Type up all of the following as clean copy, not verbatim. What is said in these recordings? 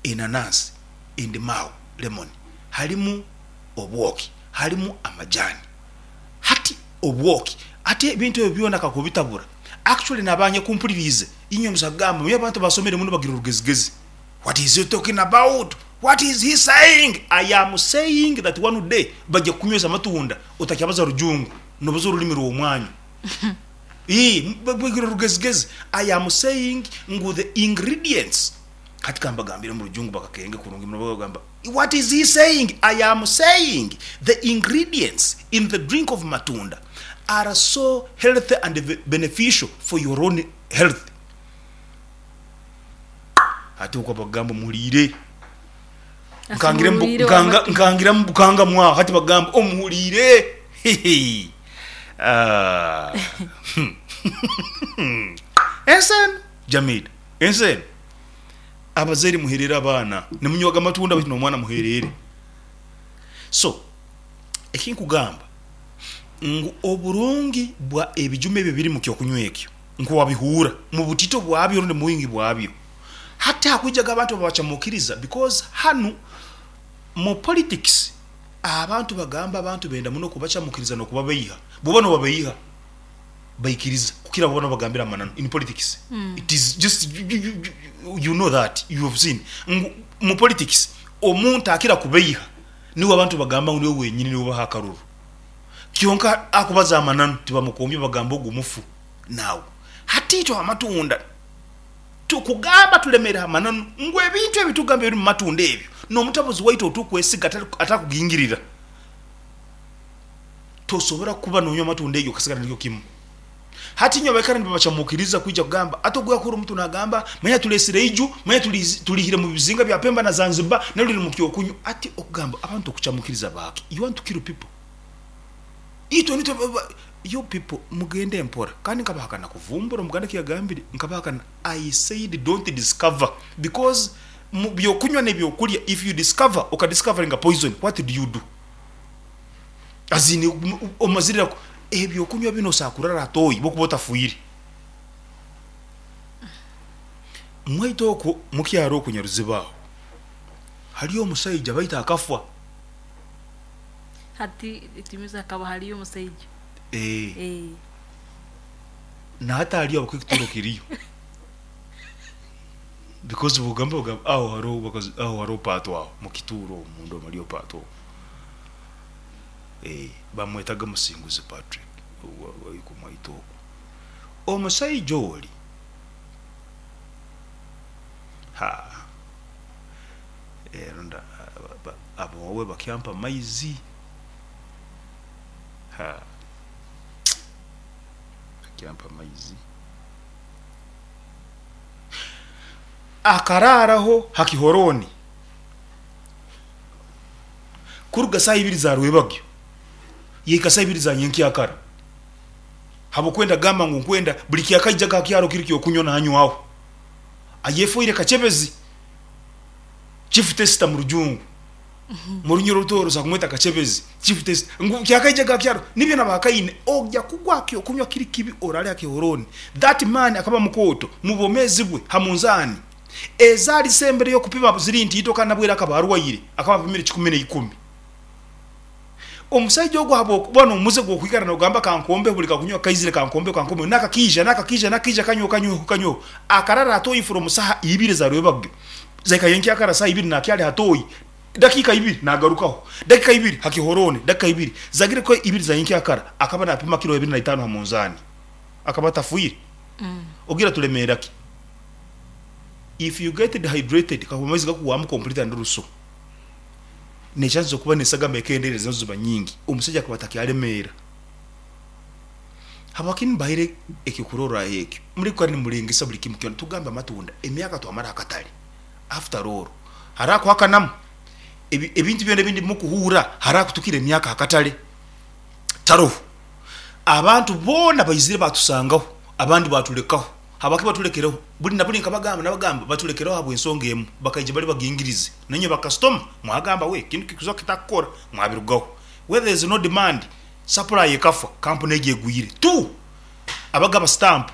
Enanansi, endimaawu, lemon, halimu obwoki, halimu amajani. Hati obwoki, hati ebintu ebyo byona kakubitabura, actually nabanyakumpuliriize inywe musa kugamba manya abantu abasomere muno bagira orugezigezi. What is he talking about? What is he saying? I am saying that one day baija kukunywesa amatunda otakyabaza rujungu, nobaza orulimi rw'omwanyu. Ii, bagira orugezigezi. I am saying ngu the ingredients Hati kambagambire omu rujungu bakakenge kurungi muno bagamba, What is he saying? I am saying the ingredients in the drink of matunda are so healthy and beneficial for your own health. Hati okwo bagamba omuhuriire. Nkangira mu- Asumurwire nkanga- amatu. nkangira mu bukanga mwaho hati bagamba omuhuriire. Hihi. Ah. Ensi enu Jamil. Ensi enu, abazaire muherere abaana, nimunywaga amatunda baitu n'omwana muherere. So, ekinkugamba ngu oburungi bwa ebijuma ebi ebiri mu kyokunywa ekyo nkowabihuura mu butito bwabyo rundi mu bwingi bwabyo. Hati hakwijaga abantu ababacamukiriza because hanu mu politics abantu bagamba abantu benda muno kubacamukiriza n'okubabeiha. Bwoba nobabeiha baikiriza kukira bwoba nobagambira amananu in politics it is just you know that you have seen ngu mu politics omuntu akira kubeiha niwe abantu bagamba ngu niwe wenyini niwe baha akaruru kyonka akubaza amananu tibamukombya bagamba ogu mufu. Now hati itwe amatunda tukugamba tulemere ha mananu ngu ebintu ebi tugamba ebiri mu matunda ebyo n'omutabuzi waitu outukwesiga atakugingirira. Tosobora kuba nonywa amatunda egi okasigara nikyo kimu. Hati inywe abaikara nibabacamukiriza kwija kugamba ati ogu yakora omuntu nagamba manya tulesire iju, manya tulihire mu bizinga bya Pemba na Zanzibar naryo liri mu kyokunywa. Ati okugamba abantu okucamukiriza baaki? You want to kill people? Itwe nitwe you people mugende mpora kandi nkabahakana kuvumbura omuganda ekiyagambire nkabahakana I said don't discover because mu byokunywa nebyokulya if you discover okadiscoveringa poison what do you do? As in omazire ebyokunywa binu osobola kurara toyi bwokuba otafwire. Mwaitu okwo mukyaro okwo Nyaruziba aho haliyo omusaija baitu akafwa. Hati tumize hakaba haliyo omusaija. Eeh. Nahati aliyo habwokuba ekituro kiriyo. Because bwogamba ogamba aho haroho aho haroho pato aho mukituuro omu munda omu haliyo pato omu. Bamwetaga Musinguzi Patrick ow'okumwaita oku. Omusaija oli, ha, rundi aboowe bakyampa amaizi, ha, bakyampa amaizi. Akaraaraho ha kihorooni. Kuruga saaha ibiri za rwebagyo yahika saaha ibiri za nyenkyakara, habw'okwenda gamba ngu nkwenda buli kyakaijaga ha kyaro kiri ky'okunywa nanywaho. Ayefoire kacebezi, chief tester mu rujungu, mu runyoro orutooro osobora kumweta kacebezi, chief tester, ngu kyakaijaga ha kyaro nibyo nabakaine, ogya kugwa ha ky'okunywa kiri kibi oraale ha kihorooni. That man akaba mukooto mu bwomeezi bwe ha munzaani. Ezaali zisembereyo kupima ziri ntiito kandi nabwo era akaba arwaire, akaba apimire kikumi na ikumi. Omusaija ogu habw'okuba n'omuze gw'okwikara nogamba kankombeho buli kakunywa kaizire kankombeho kankombeho n'akakiija n'akakiija n'akakiija kanyweho kanyweho kanyweho akarara ha toyi from saha ibiri eza rwebagyo zahika nyenkyakara saha ibiri nakyali ha toyi dakiika ibiri nagarukaho dakika ibiri ha kihorooni dakika ibiri zagire kuba ibiri za nyenkyakara akaba napima kiro abiri na itaano ha munzaani akaba atafwire ogira tulemeera ki? If you get dehydrated kakuba amaizi gakuhwamu complete and ruso ne chance zokuba nesagama ekendeera nazo ziba nyingi omusaija akaba atakyalemeera. Habwaki mbahaire ekyokurorraho ekyo? Muli kwikara nimulengesa buli kimu kyona tugambe amatunda emyaka twamara akatale after all hariho akuhakanamu ebintu byona ebindi mukuhuura hariho akutukira emyaka akatale taroho. Abantu boona baizire batusangaho abandi batulekaho. Habwaki batulekereho? Buli na buli nkabagamba nabagamba batulekereho habw'ensonga emu, bakaija bali bagingirizi. Nainywe bakasitoma mwagamba we kinu kikuza kitakukora, mwabirugaho. Where there is no demand, supply ekafa, kampuni egyo egwire. Two, abagaba sitampu.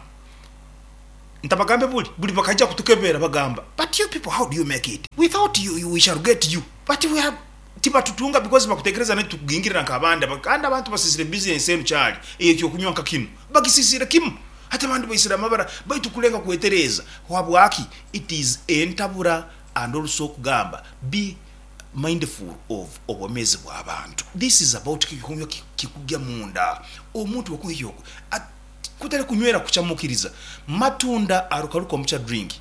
Ntabagambe buli buli bakaija kutukebera bagamba, but you people, how do you make it? Without you, we shall get you, but we have tibatutunga because bakutekereza naitu tukugingirira nk'abandi. Kandi abantu basisire business enu kyali eyekyokunywa nka kinu, bagisisire kimu. Hati abandi baisire amabara, baitu kulenga kwetereza habwaki it is entabura. And also okugamba, be mindful of obwomezi bw'abantu. This is about kikunywa kikugya munda omuntu okunywa kutali kunywera kukyamukiriza matunda arukaruka omucha drink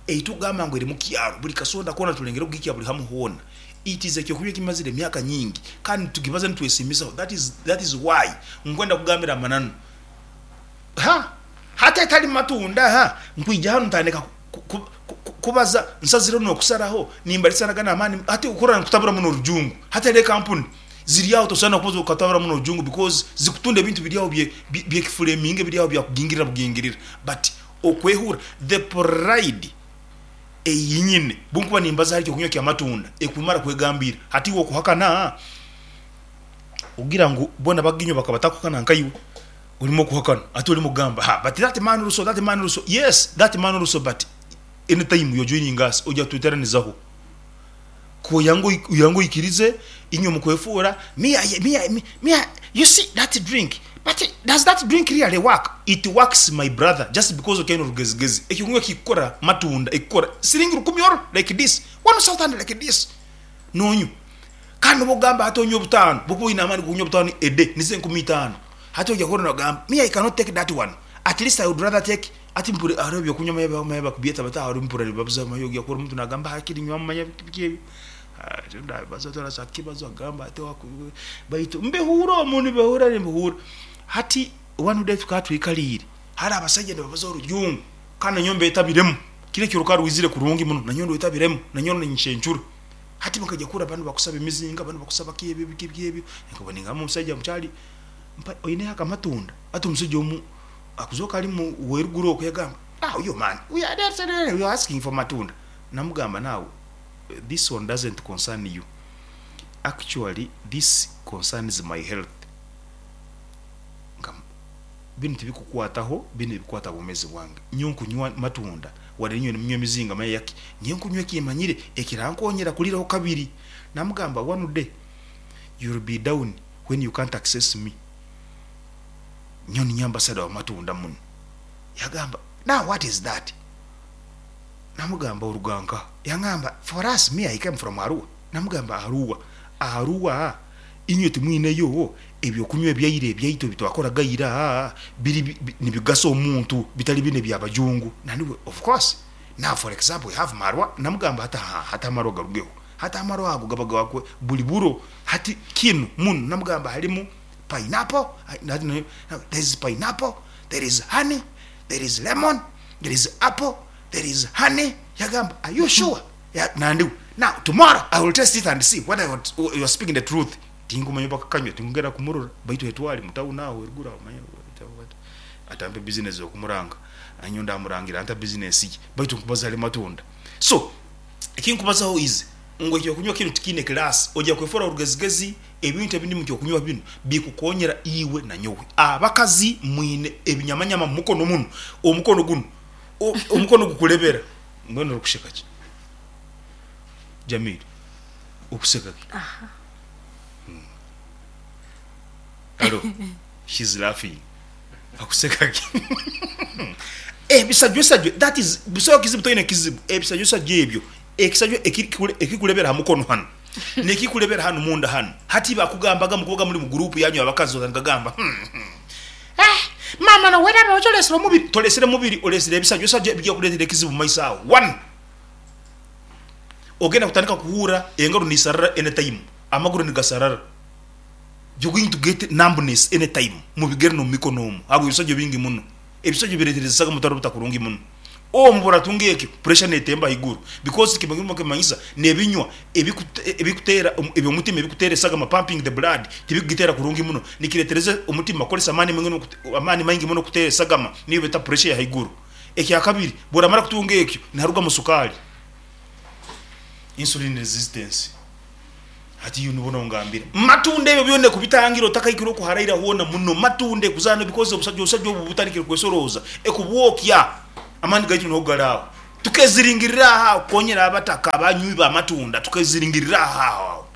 eitugamba ngu eri mukyaro buli kasonda kona tulengere kugikya buli hamu hoona. It is ekyokunywa kimazire emyaka nyingi kandi tugibaza nitwesimisaho. That is why nkwenda kugambira amananu ha hata etali matunda. Ha nkwija hanu ntandika kubaza nsazire nokusaraho nimbalisanaga amaani. Hati ukura nkutabura muno orujungu, hati ere kampuni ziri aho, tosana kubaza ukatabura muno orujungu because zikutunda ebintu biri aho byekifuleminge biri aho byakugingirira bugingirira. But okwehura the pride eyinyine bunkuba nimbaza hari ekyokunywa kyamatunda ekumara kwegambira hati iwe okuhakana ogira ngu bona baginywa bakaba batakuhakana nkaiwe olimu okuhakana. Ate olimu kugamba, ha, but that man also, that man also, yes, that man also. But anytime you're joining us, ojja tweteranizaho ko yangu oikirize inywe mukwefuura me, I, me, I, me, me, I, you see that drink, but does that drink really work? It works, my brother. Just because okaine orugezigezi, ekyokunywa kikukora matunda ekukora siringi 1000 oro like this, 1000 like this nonywa. Kandi obugamba hati onywa 5,000, bwokuba oyina amaani gokunywa 5,000 ede nizo 5,000. Hati ojja kuhurra nogamba, me, I cannot take that one, at least I would rather take. Ati mpure hariho ebyokunywa manya manya bakubyeta bata hariho mpura nibabuza manya ojya kuhurra omuntu nagamba hakiri nywamu manya biki ebyo. Ndabaza torasa kibazo agamba ati baitu mbihura omu nibihura nibihura. Hati one day tukaba twikaliire hari abasajja nibabaza orujungu kandi nanyowe mbetabiremu kiro ekyo rukaba rwizire kurungi muno, nanyowe ndwetabiremu, nanyowe ninshencura. Hati bakajya kuhurra banu bakusaba emizinga, banu bakusaba ki ebyo biki biki ebyo. Nkaba ningamba omusaija mukyali mpa oineho akamatunda. Hati omusaija omu akuzoka ali mu weruguru okwo yagamba, now you man, we are asking for matunda. Namugamba, now this one doesn't concern you, actually this concerns my health. Nga binu tibikukwataho, binu ebikwata bwomezi bwange. Nyowe nkunywa matunda wadde inywe nimunywa emizinga manya yaki. Nyowe nkunywa ekimanyire ekirankonyera kuliraho kabiri. Namugamba, one day you'll be down when you can't access me. Nyowe ninye ambassador wa matunda muno. Yagamba, now what is that? Namugamba, oruganka. Yangamba, for us, me, I came from Arua. Namugamba, Arua, Arua inywe timwineyo ebyokunywa ebyaire ebyaitu ebitwakoraga ira biri nibigasa omuntu bitali bine byabajungu. Naniwe, of course, now for example we have marwa. Namugamba hata hata amarwa garugeho, hata amarwa ago gaba gakwe buli buro. Hati kinu muno namugamba halimu pineapple, there is pineapple, there is honey, there is lemon, there is apple, there is honey. Yagamba, are you sure? Ya, nandiwe, now tomorrow I will test it and see whether you are speaking the truth. Tingumanya bakakanywa tingugera kumurora baitu etwali mutawuni aho eruguru aho manya atampe business okumuranga anyo ndamurangira anta business ye baitu nkubaza ali matunda. So ekinkubazaho is ngu ekyokunywa kinu tikiine class. Ojja kwefora orugezigezi. Ebintu ebindi mu kyokunywa binu bikukonyera iwe na nyowe. Abakazi mwine ebinyamanyama mu mukono muno, omukono guno omukono gukulebera. Mbwenu orikusheka ki, Jamil? Okuseka ki? Hello, she's laughing. Akuseka ki? Ebisajwesajwe, that is busaho kizibu, toine kizibu. Ebisajwesajwe ebyo, ekisajwe ekikulebera ha mukono hano nekikulebera hano munda hano. Hati bakugambaga mukubaga muri mu group yanyu abakazi otandika gamba, eh, mama no weraba ocholesera omubiri, tolesere mubiri, olesere ebisajwesajwe ebijja kuleetera ekizibu mu maiso aho. One, ogenda kutandika kuhura engaro nisarara anytime, amaguru nigasarara. You're going to get numbness anytime mu bigere no mumikono omu habwo ebisajwa bingi muno. Ebisajwa biretereza mutaro butakurungi muno omu buratunga ekyo pressure netemba haiguru because kimanyisa nebinywa ebikutera ebyomutima ebikutera esagama, pumping the blood, tibikugitera kurungi muno, nikiretereza omutima kukolesa amaani maingi amaani maingi muno kutera esagama, niyo beta pressure ya haiguru. Ekyakabiri, bworamara kutunga ekyo niharugamu sukali, insulin resistance. Hati iyo nibona ongambira matunda ebyo byona kubitangira otakaikira okuharaira hoona muno matunda ekuzana because obusajja obusajja obu butandikire kwesoroza ekubwokya. Amaani gaitu niho gali aho. Tukeziringirira aho aho kukonyera abataka abanywi b'amatunda, tukeziringirira aho aho aho.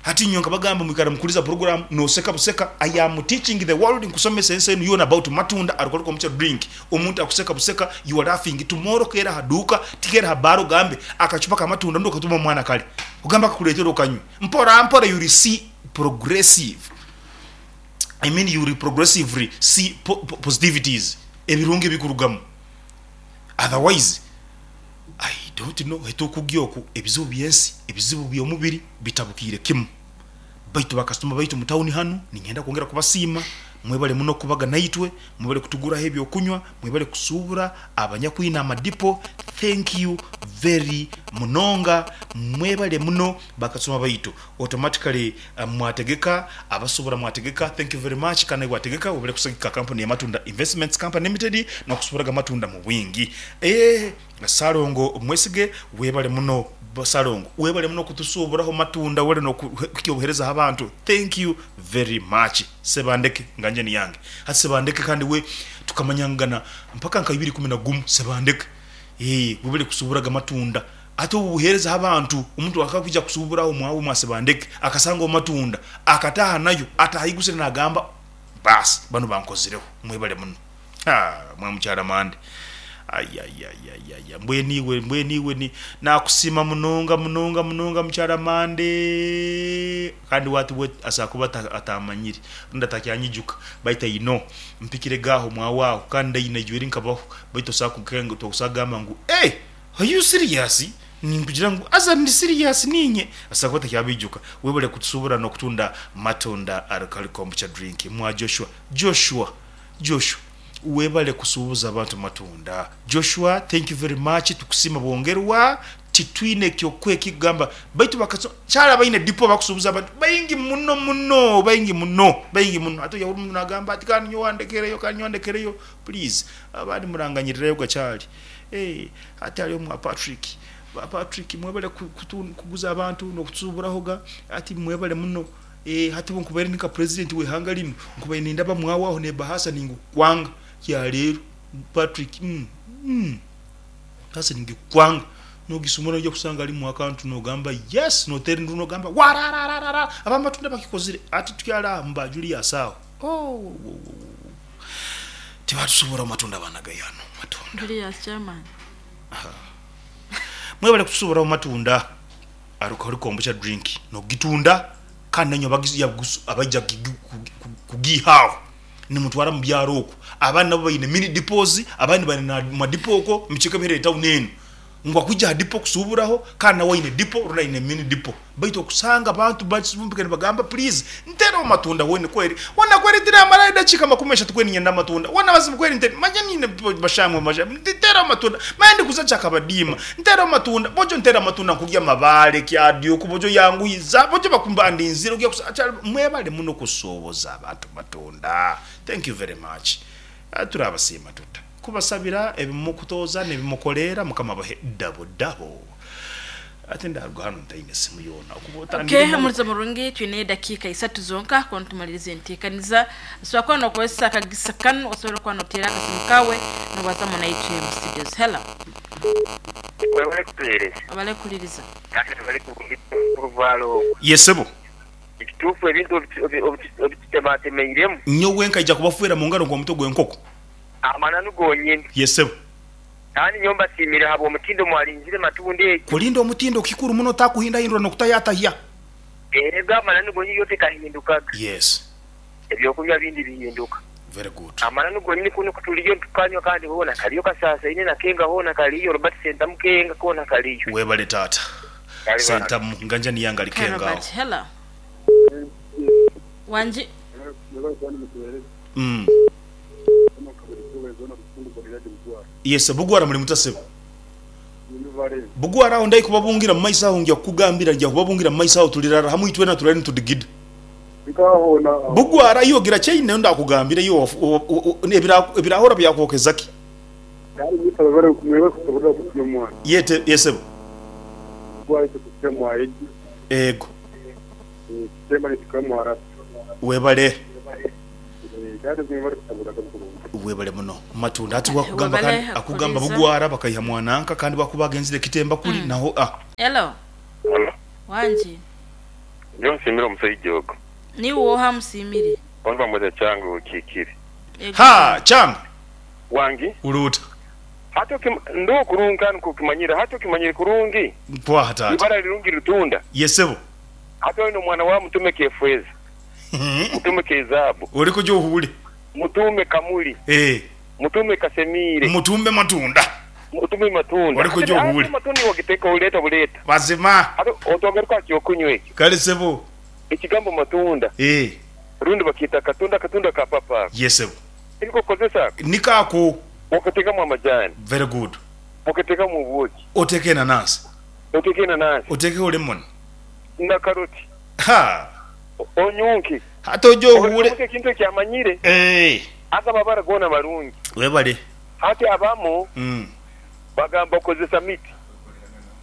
Hati nyowe nkabagamba mwikara mukuliza program noseka buseka, I am teaching the world, nkusomesa ensi enu yoona about matunda alcoholic kombucha drink. Omuntu akuseka buseka, you are laughing, tomorrow keera ha duuka, tikeera ha bar ogambe akacupa k'amatunda rundi okatuma omwana kare ogambe akakuleetera okanywe. Mpora mpora you will see progressive, I mean you will progressively see positivities, ebirungi ebikurugamu. Otherwise I don't know hetukugya oku ebizibu byensi, ebizibu byomubiri bitabukiire kimu. Baitu bakasitoma baitu mu tawuni hanu ninyenda kwongera kubasiima, mwebale muno kubaga naitwe, mwebale kutuguraho ebyokunywa, mwebale kusuubura abanyakwine amadipo, thank you very munonga, mwebale muno bakasitoma baitu. Automatically mwategeka, abasubura mwategeka, thank you very much kandi naiwe wategeka webale kusagika kampuni ya Matunda Investments Company Limited nokusuburaga amatunda mubwingi. Eeh Ssalongo Mwesige webale muno Ssalongo webale muno kutusuburaho matunda webale nokuhikya obuhereza habantu thank you very much Ssebandeke nga nje niyange hati Ssebandeke kandi we tukamanyangana mpaka nka ibiri ikumi nagumu Ssebandeke eeh webale kusuburaga amatunda. Ate obu buheereza h'abantu, omuntu akakwija kusuubura aho omwawe mwasibandeke, akasanga omatunda, akataaha nayo, ataaha aigusire naagamba, Baasi, banu bankozireho. Mwebale muno. Ha, mwa mukyala Mande. Ayayayayaya, mbwenu iwe, mbwenu iwe ni, naakusiima munonga, munonga, munonga mukyala Mande. Kandi we ati we asobola kuba ataamanyire, rundi atakyanyijuka, baitu I know, mpikirege aho omwawe aho, kandi ndaine ijweri nkabaho, baitu tosobola kugamba ngu, Eeh! Are you serious? Ninkugira ngu haza ndi serious ninye. Asobola kuba takyabaijuka. Webale kutusubura nokutunda matunda alcoholic kombucha drink mwa Joshua. Joshua Joshua webale kusubuza abantu matunda. Joshua thank you very much tukusiima bwongerwa titwine kyokukuha ekikugamba baitu bakaso kyali abaine dipo bakusubuza abantu baingi muno muno baingi muno baingi muno hati oyahura omuntu nagamba ati kandi nyowe andekereyo kandi nyowe andekereyo please abandi muranganyirirayo gakyali. Eeh hati hariyo mwa Patrick, ba Patrick mwebale kuguza abantu nokutusuburaho ga hati mwebale muno eeh hati obu nkubaire ndi nka president w'eihanga linu nkubaire nindaba mwawe aho n'ebahasa ningikukwanga kyaleero Patrick umm umm ebahasa ningikukwanga nogisumura noija kusanga harimu akantu nogamba yes noteera enduru nogamba warararara abamatunda bakikozire hati tukyali aha mu ba Julius aho ooh. Tibatusobora matunda baana gayano matunda. Julius chairman. Mwebale kutusobora matunda alcoholic kombucha drink nokugitunda kandi nainywe abaija kugiiha agho nimutwara mubyaro okwo. Abandi nabo baine mini depots abandi baine madipo okwo mubicweka ebihererire tawuni eno. Ngu akwija aha dipo kusuuburaho kandi nawe aine dipo rundi aine mini dipo. Baitu okusanga abantu bakivumbika nibagamba please ntereho amatunda weena kweri weena kweri tiramara edakiika makumi ashatu kweri niinyenda amatunda weena mazima kweri nte manya niine bashamwe bashamwe ntereho amatunda manya ndikuza kyakabadiima ntereho amatunda bojo ntere amatunda nkurya amabaare kyadyuku bojo yanguhiza bojo bakumbandinzire ogya kusa mwebale muno kusuubuza abantu matunda thank you very much Turabasiima tuta kubasabira ebi mukutooza n'ebi mukoleera Mukama abahe dabo dabo. Ati ndaruga hanu ntaine simu yoona okuba Okay, otangire omulizo murungi, twine edakiika isatu zonka kuba nitumaliriza enteekaniza. Osobola kuba nokozesa akagisa kanu, osobole kuba noteera akasimu kawe nobazamu naitwe mu studios. Hello. Webale kutuhereza. Webale kuhuliriza. Kandi webale kurungi oruvaalo orwo. Ye sebo. Ekituufu ebintu obitutematemeiremu. Nyowe nkaija kubafwera mu ngaro nk'omutwe gw'enkoko. Amananu gonyini. Ye sebo. Kandi nyowe mbasiimire habw'omutindo mwarinzire matunda egyo. Kulinda omutindo kikuru muno otakuhindahindura n'okutayatahya. Ego amananu gonyini yo tekahindukaga. Yes. Ebyokunywa bindi bihinduka. Very good. Amananu gonyini kunu kutuliyo nitukanywa kandi hoona kaliyo kasaasaine na kenga hoona kaliyo, Robert Sentamu kenga koona kaliyo. Webale taata. Sentamu nga nja niye angali Kale kenga agho. Robert, hello. Wangi. Mm. Yes, Bugwara muli muta sebo? Bugwara agho ndai kubabungira mu maiso agho nja kukugambira nja kubabungira mu maiso agho tulirara hamu itwena turare nitudigida. Bugwara iwe ogira kyaine ndakugambira iwe ebirahora byakwokeza ki? Ye ye sebo. Ego. Webale. Webale muno matunda ati wakugamba Webale kandi akugamba kuliza. bugwara bakaiha mwananka kandi bakuba agenzire kitemba kuli naho ah. Hello. Wanji. Njo nsimire omusajja ogwo. Niwe oha musimire? Onu bamweta Chango okiikire. Ego. Ha changa Wangi uluta hati ndo kurungi kandi kukimanyira hati okimanyire kurungi. Mpwaha tata. Ibara lirungi litunda. Yesebo. Hati olina omwana wa mutume kefweza, mutume kezaabu, uli kuja ohule. Mutume kamuli. Mutume kasemire. Mutumbe matunda. Mutume matunda. Oli kuja Hati ohule. matunda wagiteka uleta buleta. Mazima. Hati otwagaruka kyokunywa ekyo. Kale sebo. Ekigambo matunda. Rundi bakita katunda, katunda ka papa. Yesebo. Niko kozesa. Nikako. Wakatekamu amajani. Very good. Wakatekamu ubuki. Oteke nanasi. Oteke nanasi. Oteke lemon. Na karoti. Ha. Onyunki. Hata ojo ohule. Omuke kintu ekyamanyire. Aka babara gona marungi. Webale. Hati abamu bagamba kozesa miti.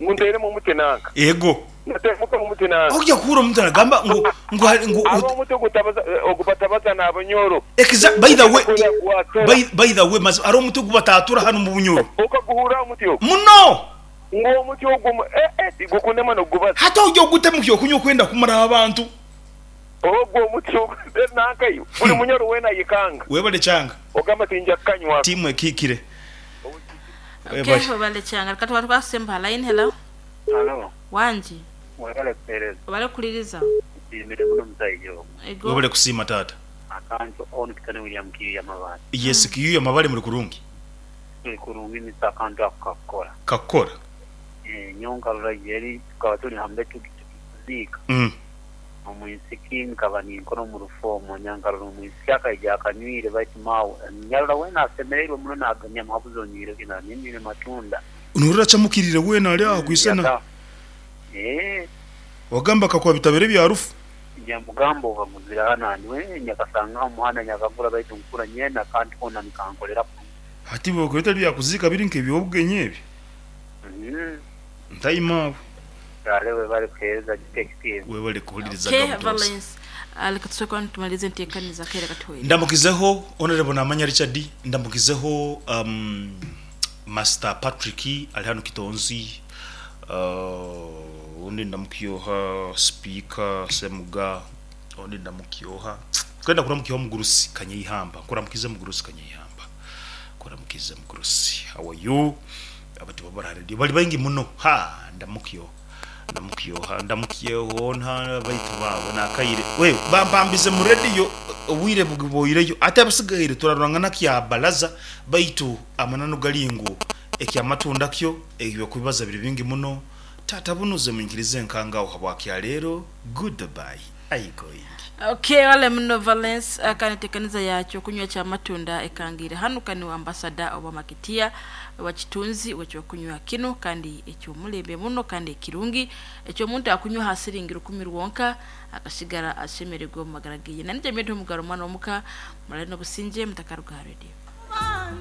Ngunteremo omuti nanka. Ego. Natemuka omuti nanka. Ojja kuhura omuntu anagamba ngu ngu ngu abo omuti ogutabaza ogubatabaza n'abanyoro. By the way, Kuya kuwatura. by the way, mas ari omuti ogubatatura hano mu bunyoro. Okaguhura omuti ogwo. Muno. Ngo omuti ogwo gukunema n'ogubaza. Hata ojja ogutemu kyokunywa okwenda kumara abantu. Ogwo omuti ogwo nanka yo. Buli munyoro wena yikanga. Webale changa. Ogamba tinja kanywa. Timu ekikire. Okay, Webale. webale changa. Kati watu kwasemba line. Hello. Hello. Wanji. Webale kupereza. Webale kuliriza. Nsimire muno musajja ogwo. Ego. Webale kusiima tata. Akantu ono kitane William Kiyu Mabale. Yes, Kiyu Mabale muri kurungi. Tuli kurungi misa akantu ako kakukora. Kakukora. Nyonka rurageri tukaba tuli hambe tukiziika. Omwisiki nkaba ninkora omu rufomo nyankarora omwisiki akaija akanywire baitu maawe nyarora wena asemereirwe muno naganya muhabuzi onywire kina ninywire matunda. Nurira chamukirire wena ali aho kwisena. Wagamba kakwa bitabere bya rufu. Nyamugamba okaguzira hano we nyakasanga omuhanda nyakagura baitu nkura nyena kandi kona nikankolera. Hati bwo bya kuzika biri nk'ebyobwenye ebi. Ntayima. Kale bali kuhereza detective. Wewe bali kuhuliriza Okay, gabutosi. Valence. Reka tusooke tumalize enteekaniza keera katuweere. Ndamukizeho Honorable Namanya Richard, ndamukizeho Master Patrick ali hano Kitonzi, undi ndamukyoha Speaker Semuga, undi ndamukyoha kwenda kuramukyoha Mugurusi Kanyeihamba, kuramukize Mugurusi Kanyeihamba, kuramukize Mugurusi. How are you? Abati babara radio bali baingi muno. Ha, ndamukyoha ndamukyoha ndamukyeho nta baitu babo nakaire we bampambize mu radio obwire bugiboireyo ate abasigaire turarangana kya balaza baitu amanano galingu ekyamatunda kyo ebyo kubibaza biri bingi muno. Tata bunuze munkirize nkangaho habwakya leero. Goodbye. I going. Okay, wale muno Valence akanitekaniza yakyo kunywa cha matunda ekangire hano kani wa ambassador oba makitia wa kitunzi wekyo kunywa kino kandi ekyo mulembe muno kandi ekirungi ekyo muntu akunywa hasiringira 10 rwonka akasigara ashemererwa mu magara giye. Nanije mbeto mugaro mwana omuka mulano businje mutakaruga radio.